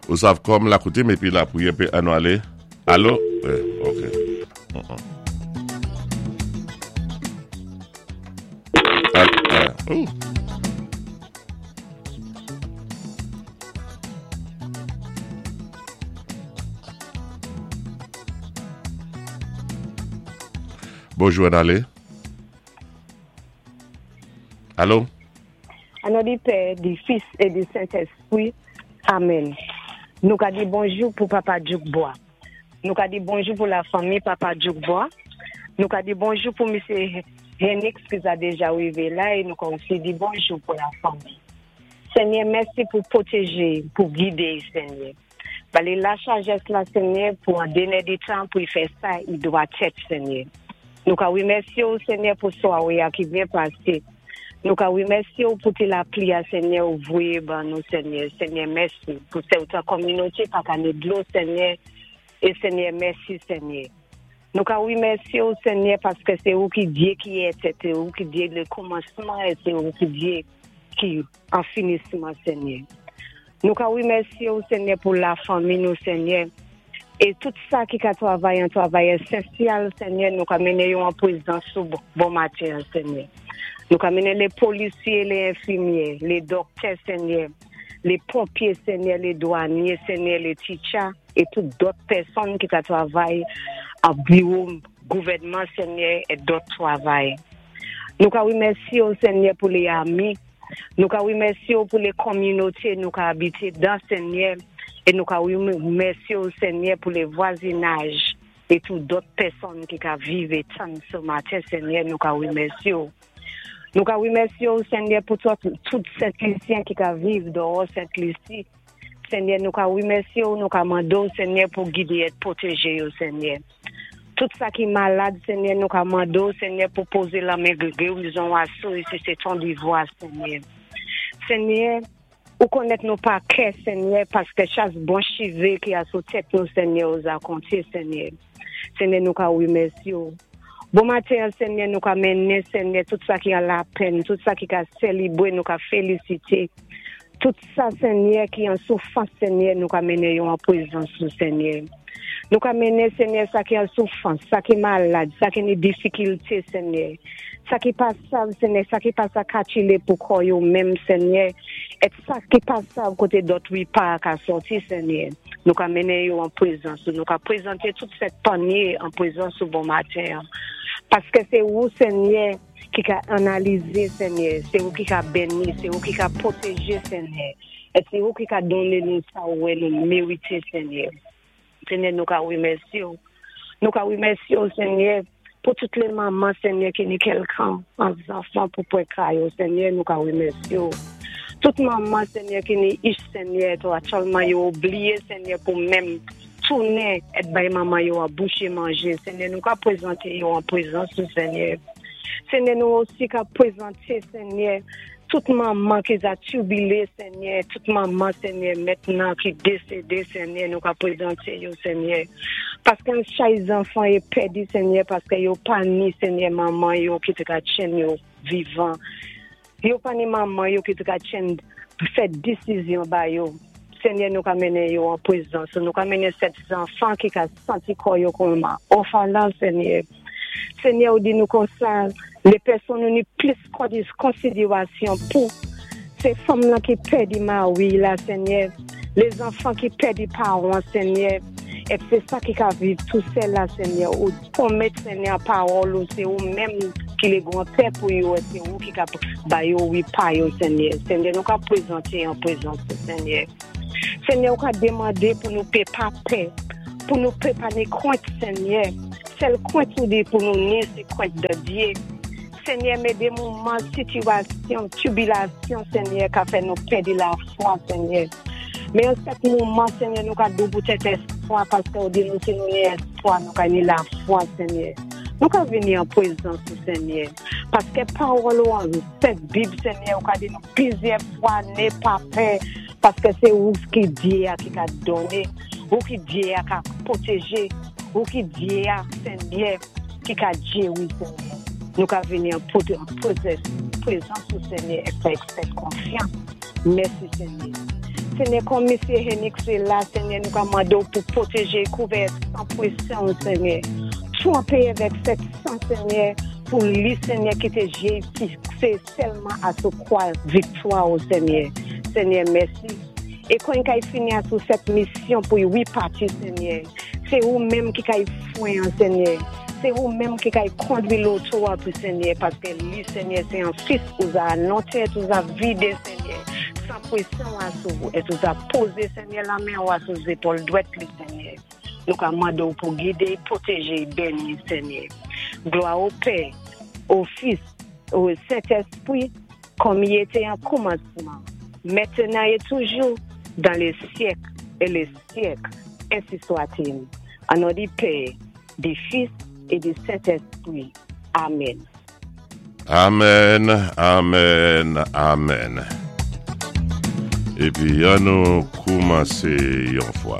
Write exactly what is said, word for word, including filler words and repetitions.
Ou sav kòm la koutim épi la pwiyè pi annou alé. Alo? Eh, ok. Uh-uh. Al, ah, ouh. Bonjou, ann alé. Alo? An non di Pè, di Fis é di Sentéspwi. Amèn. Nou ka di bonjou pou Papa Djoukbois. Nou ka di bonjou pou la fanmi Papa Djoukbois. Nou ka di bonjou pou Misyé Henix ki za déja wivé la é nou ka osi di bonjou pou la fanmi. Senyè, mèsi pou pwotéjé, pou gidé, Senyè. Ba li la sajès la, Senyè, pou an denè di tan pou i fè sa i dwa tèt, Senyè. Nou ka wimèsyé ou, Senyè, pou swawé a ki byen pasé. Nou ka wimèsyé ou pou ti lapli a, Senyè, ou voyé ban nou, Senyè. Senyè, mèsi. Pou sèten kominoté pa ka ni dlo, Senyè. É Senyè, mèsi, Senyè. Nou ka wimèsyé ou, Senyè, paské sé ou ki Dye ki é, sé ou ki Dye lé kòmansman é sé ou ki Dye ki an finisman, Senyè. Nou ka wimèsyé ou, Senyè, pou la fanmi nou, Senyè. É tout sa ki ka twavay, an twavay ésansyèl, Senyè, nou ka mennen yo an pwézans ou bon maten, Senyè. Nou ka mennen lé polisyé, lé enfimyé, lé dòktè, Senyè, lé ponpyé, Senyè, lé dwanyé, Senyè, lé teacher, é tout dòt pèsonn ki ka twavay an biwo gouvèdman, Senyè, é dòt twavay. Nou ka wimèsyé ou, Senyè, pou lé ami. Nou ka wimèsyé ou pou lé kominoté nou ka abité dan, Senyè, é nou ka wimèsyé ou, Senyè, pou lé vwazinaj é tout dòt pèsonn ki ka viv é tann sé maten, Senyè, nou ka wimèsyé ou. Nou ka wimèsyé ou, Senyè, pou tout, tout Sent Lisyen ki ka viv dèwò Sent Lisi. Senyè, nou ka wimèsyé ou, nou ka mandé ou, Senyè, pou gidé é pwotéjé yo, Senyè. Tout sa ki malad, Senyè, nou ka mandé ou, Senyè, pou pozé la men gerizon asou si sé ton divwa, Senyè. Senyè, ou konnèt nou pa kè, Senyè, paské chak bon chivé ki asou tèt nou, Senyè, ou za konté, Senyè. Senyè, nou ka wimèsyé ou. Bon maten, Senyè, nou ka mennen, Senyè, tout sa ki an lapenn, tout sa ki ka sélébwé, nou ka félisité. Tout sa, Senyè, ki an soufrans, Senyè, nou ka mennen yo an pwézans ou, Senyè. Nou ka mennen, Senyè, sa ki an soufrans, sa ki malad, sa ki ni difikilté, Senyè. Sa ki pa sav, Senyè, sa ki pa sa katile pou kò yo menm, Senyè. É sa ki pa sav koté dòt wipa ka sòti, Senyè. Nou ka mennen yo an pwézans ou. Nou ka pwézanté tout sèt panyé an pwézans ou bon maten. Paské sé ou, Senyè, ki ka analizé, Senyè. Sé ou ki ka béni, sé ou ki ka pwotéjé, Senyè. É sé ou ki ka donné nou sa ou wè nou mérité, Senyè. Senyè, nou ka wimèsyé ou. Nou ka wimèsyé ou, Senyè, pou tout lé manman, Senyè, ki ni kèlkan an zanfan pou pwé kay yo, Senyè, nou ka wimèsyé ou. Tout manman, Senyè, ki ni ich, Senyè, to aktyèlman yo oubliyé, Senyè, pou menm tounen é bay manman yo an bouché manjé. Senyè, nou ka pwézanté yo an pwézans ou, Senyè. Senyè, nou osi ka pwézanté, Senyè, tout manman ki za tibilé, Senyè, tout manman, Senyè, mentnan ki désédé, Senyè, nou ka pwézanté yo, Senyè. Paské an chay zanfan é pèdi, Senyè, paské yo pa ni, Senyè, manman yo ki té ka tjenn yo vivan. Yo pa ni manman yo ki té ka tjenn fè désizyon ba yo. Senyè, nou ka mennen yo an pwézans. Nou ka mennen sèt zanfan ki ka santi kò yo kòm òfelen, Senyè. Senyè, ou di nou kon sa, lé pèsonn nou ni plis konsidérasyon pou sé fanm lan ki pèdi mari la, Senyè. Lé zanfan ki pèdi pawan, Senyè. É sé sa ki ka viv tou sèl la, Senyè. Ou pwomèt, Senyè, pawòl ou, sé ou menm ki lé gran pè pou yo, é sé ou ki ka ba yo wipa yo, Senyè. Senyè, nou ka pwézanté an pwézans, Senyè. Senyè, ou ka démandé pou nou pé pa pè, pou nou pé pa ni kwent, Senyè. Sèl kwent ou di pou nou ni, sé kwent de Dye. Senyè, mé dé moman, sitiyasyon, tibilasyon, Senyè, ka fè nou pèdi lafwa, Senyè. Mé an sèt moman, Senyè, nou ka dou pou tèt éspwa, paské ou di nou si nou ni éspwa, nou ka ni lafwa, Senyè. Nou ka vini an pwézans ou, Senyè. Paské pawòl ou an sèt Bib, Senyè, ou ka di nou plizyè fwa, né pa pè, paské sé ou ki Dye a ki ka donné, ou ki Dye a ka pwotéjé, ou ki Dye a, Senyè, ki ka géwi, Senyè. Nou ka vini an pwézans ou, Senyè, é fè sèt konfyans. Mèsi, Senyè. Ségnè, kòm Misyé Henix sé la, Ségnè, nou ka mandé-w pou pwotéjé, kouvè san pwésan, Ségnè. Tranpé avèk sèt san, Ségnè, pou li, Ségnè, kité jé fiksé sèlman asou kwa viktwa, o Ségnè. Ségnè, mèsi. É kon i kay fini asou sèt misyon pou i pati, Ségnè. Sé ou menm ki kay fwen, Ségnè. Sé ou menm ki kay kondwi loto a pou Ségnè, paské li, Ségnè, sé an fis ou za anonté, ou za vidé, Ségnè. San pwésan asou, é ou za pozé, Ségnè, lamen ou asou zépòl dwèt li, Ségnè. Nou ka mandé-w pou gidé, pwotéjé, béni, Ségnè. Glwa o Pè, o Fis, o Sentespwi, kòm i été an kòmansman, mentnan é toujou, dans les siècles et les siècles, ainsi soit-il. An non di Pè, di Fis é di Sentespwi. Amen. Amen, amen, amen. Épi, an nou koumansé yon fwa.